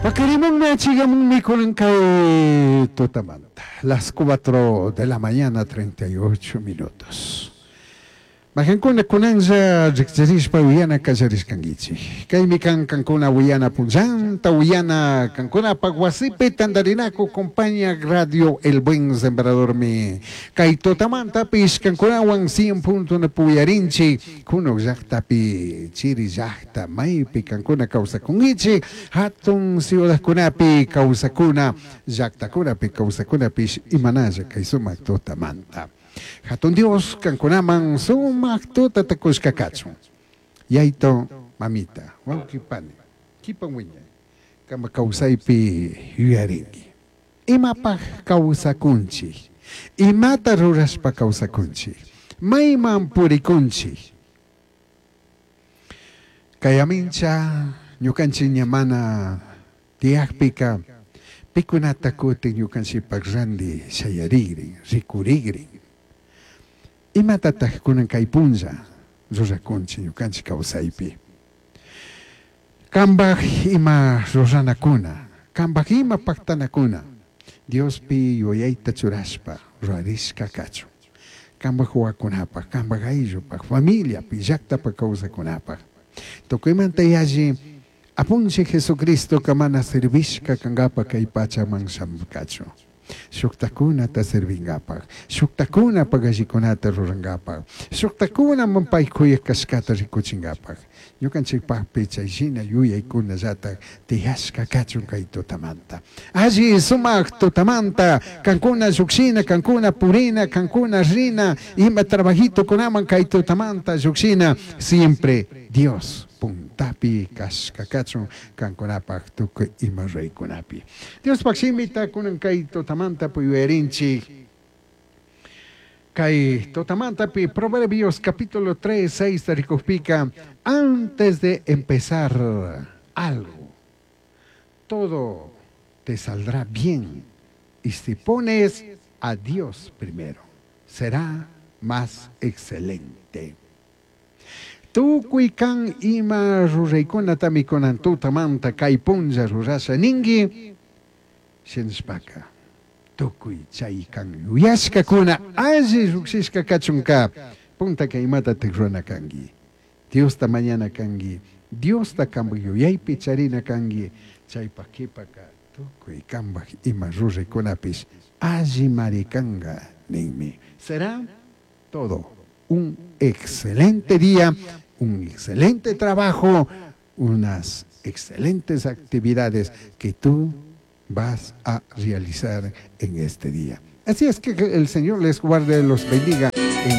Pakarimunmi achigamunmi kunan kay tutamanta. Las 4 de la mañana 38 minutos. Majankuna kunanlla riqchirishpa uyana qallarishkankichik. Kaymi kan kankuna uyana punllanta uyana kankunapaq wasipi tantarinaku compañía Radio El Buen Sembradormi. Kay tutamantapish kankunawan 100.1 puyarinchik kunuq llaqtapi chiri llaqta maypi kankuna kawsakunkichik hatun ciudadkunapi kawsakuna llaqtakunapi kawsakunapish imanalla kay sumaq tutamanta. Hatun Dios kankunaman sumaq tutata kushka kachun. Yayto mamita, wawqi pani, kipan wiñay, kama kawsaypi yuyarinki. Imapaq kawsakunchik, imata rurashpa kawsakunchik, mayman purikunchik. Kay amincha ñukanchik ña mana tiyaqpika pikunata kutin ñukanchikpaq ranti shayarigrin, rikurigrin. Imatataq kunan kay punlla rurakunchik ñukanchik kawsaypi. Kambaj ima ruranakuna, kambaj ima pactanakuna, Diospi yuyayta churashpa rurarishka kachun. Kambaj wawakunapaq, kambaj ayllupaq, familiapi, llaqtapaq kawsakunapaq. Tukuymanta yalli apunchik Jesucristoka mana servishka kankapaq kay pachaman shamurkachu. Shuktakunata servingapak, shuktakunapak allikunata rurangapak, shuktakunaman pay kuyaq kashkata rikuchingapak. Ñukanchikpaqpi chay shina yuyaykunallatak tiyashka kachun kay tutamanta. Alli sumaq tutamanta, kankuna llukshina, kankuna purina, kankuna rina, ima trabajitokunaman kay tutamanta llukshina, siempre Dios puntapi kashka kachun kankunapaq tukuy ima ruraykunapi. Diospaq shimita kunan kay tutamanta puyuyarinchik. Kay tutamantapi Proverbios capítulo 3, 6 rikukpika, antes de empezar algo, todo te saldrá bien. Y si pones a Dios primero, será más excelente. Tukuy kan ima ruraykunatami kunan tutamanta kay punlla rurasha ninki, shinashpaka tukuy chay kan yuyashkakuna alli llukshishka kachunka puntaka imatatak rurana kanki. Diosta mañana kanki, Diosta kanpak yuyaypi charina kanki, chaypak kipaka tukuy kanpak ima ruraykunapish allimari kanka ninmi. Será todo un excelente día, un excelente trabajo, unas excelentes actividades que tú vas a realizar en este día. Así es que el Señor les guarde, los bendiga.